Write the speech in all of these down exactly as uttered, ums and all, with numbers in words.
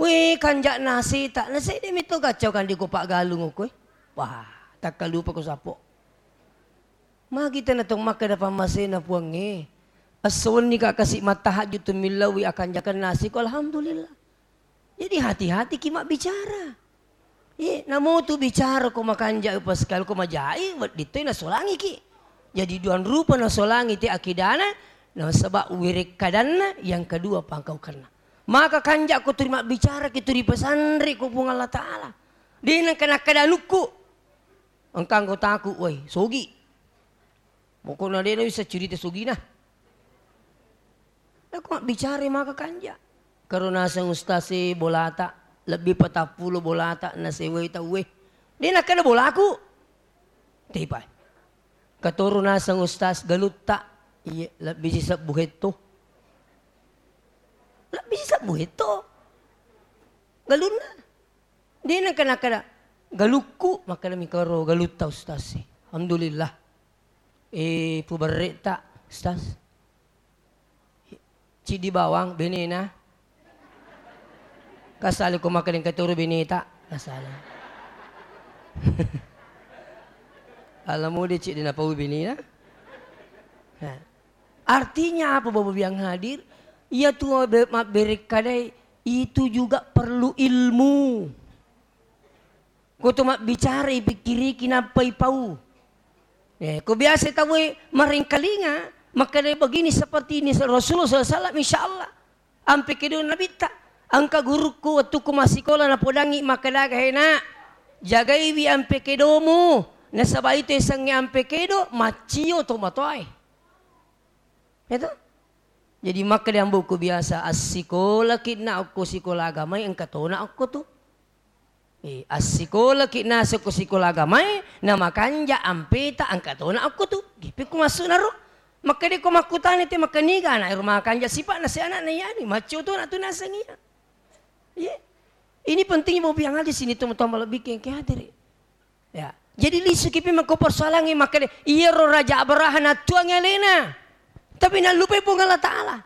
Wé, kanja' nasita', nasedde' metto gaccau kande ko paggalung okkoé. Wah, takkalupa ko sappo. Magi tena tong makkeda pammasena Puangnge. Esso wenni ka kasi' mattahajju' tu millauwi akanjakeng nasi ko, alhamdulillah. Jadi hati-hati ki mabbicara. Iye, namotu bicara ko makanja' upasikali ko majai, wedding toi nasolangi ki. Jadi duang rupa nasolangi te akidana, nasaba' wirekkadanna, yang kedua pangkaukenna. Maka kanja' ko turi mabbicara ki turi pesanre ko Puang Allah Ta'ala. De' nengka nakkeda anukku. Engka anggotaku, woi, sogi. Pokokna de' nawisseng cerita sogina. Nako mabbicara maka kanja'. Karo naseng ustaz e bolata, lebbi patappulo bolata nasewai tauwe. De' nakkeda bolaku. Tepa. Katoro naseng ustaz galutta, iye, lebbi sisebbu hetto. Lebbi sisebbu hetto. Galunna. De' nengka nakkeda galukku, makkeda mikaro galutta ustaz e. Alhamdulillah. Eh, puberre'ta, Ustaz. Ciddi bawang, benena. Kasale ko makkeda engka toro beneta, kasale. Ala mode ciddi napau benena. Nah. Artinya apa, Bapak Ibu yang hadir? Iya tu mabbe-, mabberekkadai itu juga perlu ilmu. Ko to mabbicara ipikkiriki nappa ipau. Eh, ko biasa tauwe marengkalinga, makkeda begini seperti ini Rasulullah sallallahu alaihi wasallam, insya Allah. Ampe kedo Nabitta, engka gurukku wettukku massikola napodangi makkeda, "He, Nak, jagaiwi ampe kedomu, nasaba itu esengnge ampe kedo, maccio to matoae." Itu. Jadi makkeda ambo'ku biasa, "Assikolaki na okko sikola agamae, engka tona okko tu." Eh, assikolaki naseng ko sikola agamae, na makanja ampeta engka tona okko tu. Gipikku massu'na ro. Makkeda ko makkutana te makkaniga ana'e ro makanja sipa'na se ana'na iyani, maccio tona tu naseng iya. Iya. Ini pentingnya mau biang aja sini teman-teman lebih kengke hadiri. Ya. Jadi lisuki pi mako persoalangnge makkeda, iyaro Raja Abraha nattuangi alena. Tapi nallupai Puang Allah Ta'ala.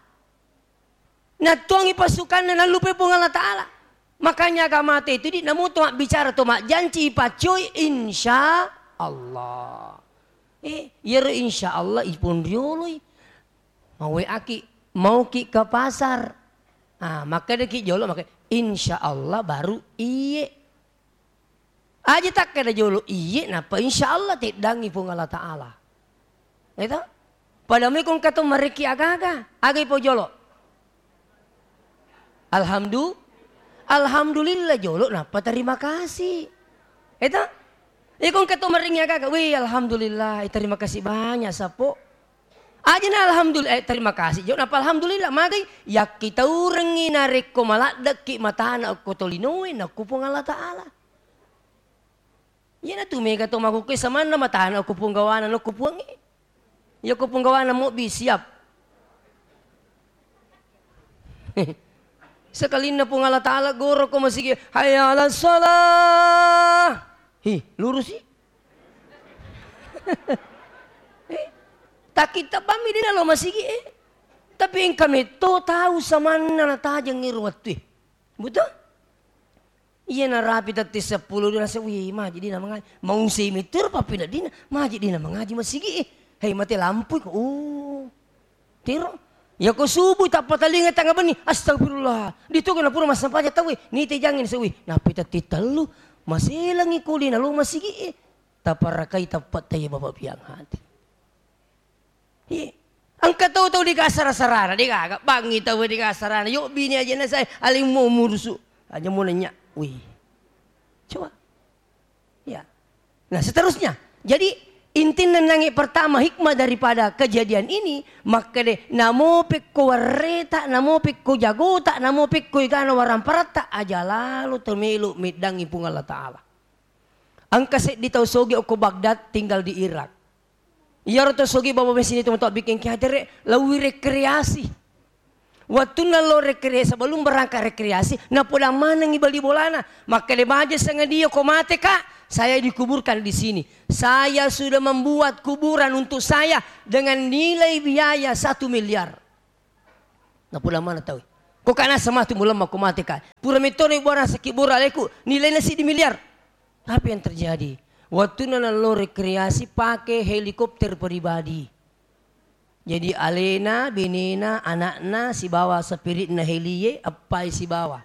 Nattuangi pasukanna, nallupai Puang Allah Ta'ala. Makanya agamata itu di namu to mabbicara to majjanci ipaccoi insya Allah. Eh, iyaro insya Allah ipon rioloi. Mau aki, mau ki ke pasar. Ah, makkedaki jolo, makkeda, "Insya Allah baru iye." Aja takkeda jolo iye, nappa insya Allah teddangi Puang Allah Ta'ala. Eto? Pada mui kong kato marekki aga-aga, aga ipo jolo? Alhamdu-, Alhamdulillah jolo, nappa terima kasih. Eto? Ikong kato marengi aga-aga, wih, Alhamdulillah, eh, terima kasih banyak, Sapo. Aja na alhamdulillah, eh, terima kasih. Jawab napa alhamdulillah, magai yakkitaurengngi narekko maladdekki matana okko tolinoe nakko Puang Allah Ta'ala. Iyanatu mega to makkukkue samanna matana okko Puang gawana nokko Puangnge. Iya ko Puang gawana mobbi siap. Sekalinna Puang Allah Ta'ala goro ko masigi, "Hayya 'alas shalah." Hi, lurusi. Eh, takitabammi dina lo masigi, eh. Tapi engka metto tau samanna natajeng iro wettue. Betul? Iya narapi tette seppulo dua nase, wih, maji dina mangaji. Mau semi tiro papina dina, maji dina mangaji masigi, eh. Hei, mate lampu ko. Oh. Tiro. Ya ko subuh tappa talinga tanga benni, astagfirullah. Ditoga na pura massampaja tauwe, nite jange nase, wih, napi tette tellu, maselangi kuli na lo masigi, eh. Taparakai tappa taya Bapak piang hati. Iye. Engka tau-tau dikasara-sarana, degaga bangi tau dikasarana. Yo bini aja na saya alimmu murusu. Aja mau nanya. Wih. Coba. Ya. Nah, seterusnya. Jadi intinna nangi pertama hikmah daripada kejadian ini, makkede namo pekko warreta, namo pekko jagota, namo pekko igana waramparatta, aja lalo temelo meddangi Puang Allah Ta'ala. Engka seddi tau sogi okko Baghdad tinggal di Irak. Iyaro to sogi baba mesini to matoa bikin ki hatere, lawi rekreasi. Wattunna lo rekre-, sebelum berangkat rekreasi, napodang manengi bali bolana. Makkede baja sengadia ko mate, Kak, saya dikuburkan di sini. Saya sudah membuat kuburan untuk saya dengan nilai biaya satu miliar. Napodang mana tau? Ko kana sematu mulemma ko mate ka. Pura metto na ibuarang sakit bora aleku, nilaina siddi miliar. Apa yang terjadi? Wattunna nallo rekreasi pake helikopter pribadi. Jadi alena, benena, anakna sibawa spiritna helie eppai sibawa.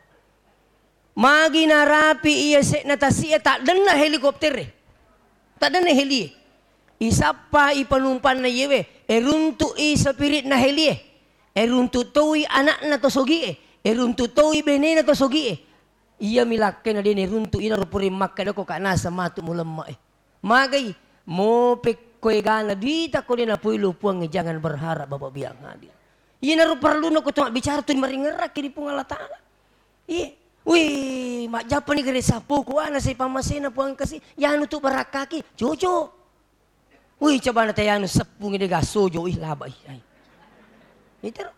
Magi narapi iya se'na tasi'e taddenna helikoptere. Taddenna helie. Isappai panumpanna iyewe, eruntu'i spiritna helie. Eruntu toi anakna to sogie. Eruntu toi benena to sogie. Iyami lakkaina de' neruntu', inaro pura makkedako ka naseng matu mulemme'e. Magai, mopekko egana duita ko de' napoilo Puangnge, jangan berharap Bapak biang hadir. Inaro parelluna ko to mabbicara tu maringerrakki ri Puang Allah Taala. Iye. Wih, majjappani gare sappo kuana sai pammasena Puang kasi, yanu tu barakkaki, cocok. Wih, cobana tayanu seppungi de' gasojo, ih laba ih. Ai. Itero.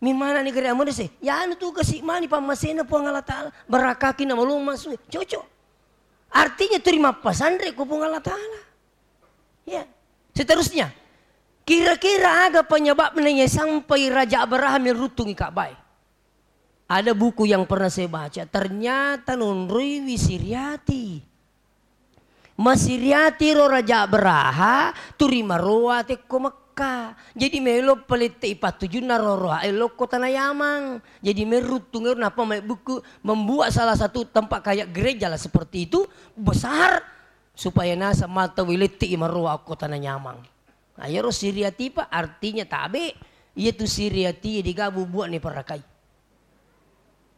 Mimana ni gare amone se, yanu tu kasi mani pammasena Puang Allah Taala, barakaki na malomma sue, cocok. Artinya turi mappasanre ko Puang Allah Taala. Ya. Seterusnya, kira-kira aga penyebabnya ya sampai Raja Abraham yang rutungi Ka'bah? Ada buku yang pernah saya baca, ternyata nonroiwi Siriati. Masiriati ro Raja Abraha, turi maroa tekko Mekka. Jadi melo palette'i pattujunna ro roa e lokko tana Yamang. Jadi merruttung ero nappa mai buku membuat salah satu tempat kayak gereja lah seperti itu, besar, supaya naseng mata wilette'i maroa okko tana Yamang. Nah, iyaro Siriati, Pak, artinya tabe. Iyatu Siriati degaga bubuane parakai.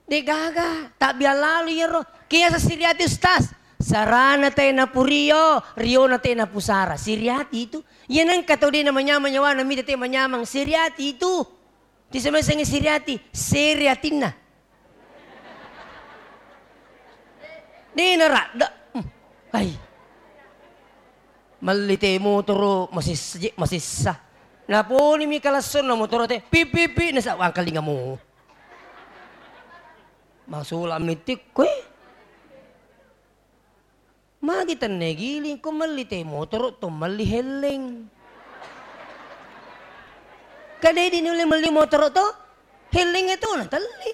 Degaga, tabbiang lalo iyaro. Kiasa Siriati, Ustaz? Sarana te napurio, riona te napusara. Siriati itu. Iya nengka tau de' namanyamang nyawana mita te manyamang. Siriati itu. Tisemesengi Siriati, seri atinna. De' naradda. Hmm. Ai. Melli te motoro masissa, masissa. Naponimi kalassonna motoro te, pip, pip, pip, nasa wangkalingamu. Masula mitik koe. Magi tenne giling ko melli te motoro to melli helleng. Kadedi nulle melli motoro to? Helleng itu na telli.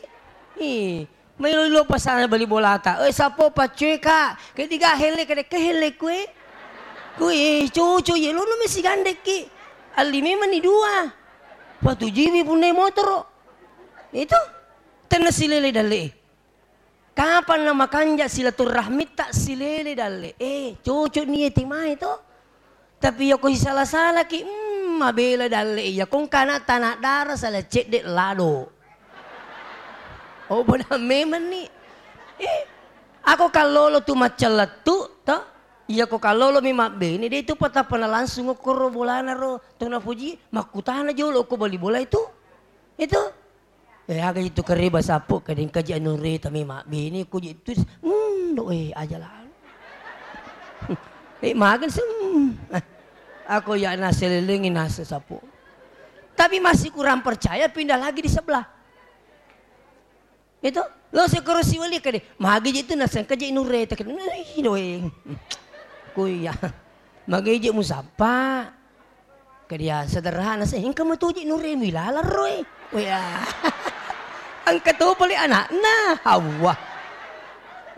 Ih, mailo lo pasana bali bolata. Eh, sapo paccoe ka. Ketiga helle kade ke helle kue. Kue cucu ye lo no mesi gandeki. Alli memang ni dua. Patujiwi punne motoro. Itu. Tenne silele dalle. Kapanna makanja silaturrahmitta silele dalle. Eh, cocok ni eti mae to. Tapi yako sisala-salaki, mm, mabela dalle. Yako engka ana tana dara sala cedde lado. Oh, bodoh memang ni. Eh, ako kallolo tu maccellettu to. Yako kallolo mi mabbene de tu patapana langsung okkoro bolana ro. To napuji makkutana jolo ko bali bola itu. Itu. Eh, aga itu kareba sappo, kadeng kaji anu reta memang bini ku je tu, mm, do, eh, aja lah. Eh, makan sem. Aku ya nasi lelengi nasi sappo. Tapi masih kurang percaya, pindah lagi di sebelah. Itu, lo sekoro siwali kade, magi je tu nasi kaji anu reta kade, ih, do, eh. Ku ya. Magi je musapa. Kedia sederhana se, engka matuji nuremu ilalang roe. Wea. Engka to pole anakna. Hawa.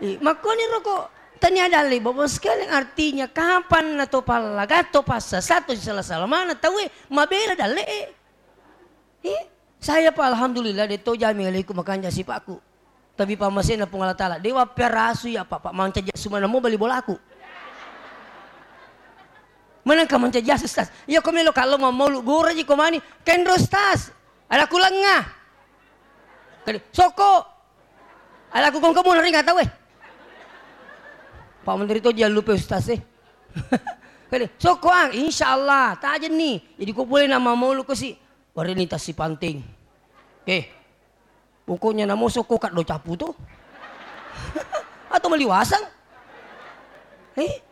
Eh, makkoni roko tania dalle, Bapak sekalian, artinya kapan na to pallaga, to passasa, to sisala-sala mana tauwe mabela dalle e. Eh, saya pa alhamdulillah de to jami alaiku makanja sipakku. Tapi pammasena Puang Allah Taala, dewa piarasu ya, Pak, Pak, mancaji asu mana mo bali bolaku. Menengka mancaji asu, Ustaz. Iya ko melo kallo mammaulu gora ji ko mani, kenro, Ustaz. Ada kulenga. Kali, soko. Ada ku kongko mo naringa tau, eh. Pak Menteri to jangan lupa, Ustaz, eh. Kali, soko, ah, insya Allah, tajenni. Jadi ko boleh nama maulu ko si. Wareni tasi panting. Eh, pokoknya namo sokko kaddo capu to. Atau maliwasang. Eh,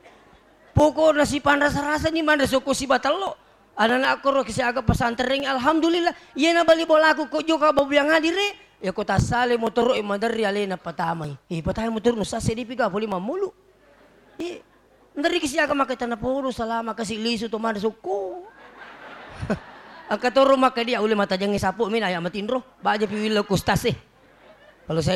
pokokna sipanrasa-rasa ni manre sokko sibatello. Anak-anak koro kisi aga pesantren, alhamdulillah. Iya na bali bolaku ko joka babu yang hadir, eh. Ya ko tassale motoro e maderri alena patamai. Eh, patamai motoro nusa sedipi ga poli mamulu. Iya. Ndariki siaga maka tana podo salama kasi lisu to mana sukku. Engka to rumah ke dia ulle matajengngi sapu mina ya matinro. Baja pi willo kustas e. Kalau saya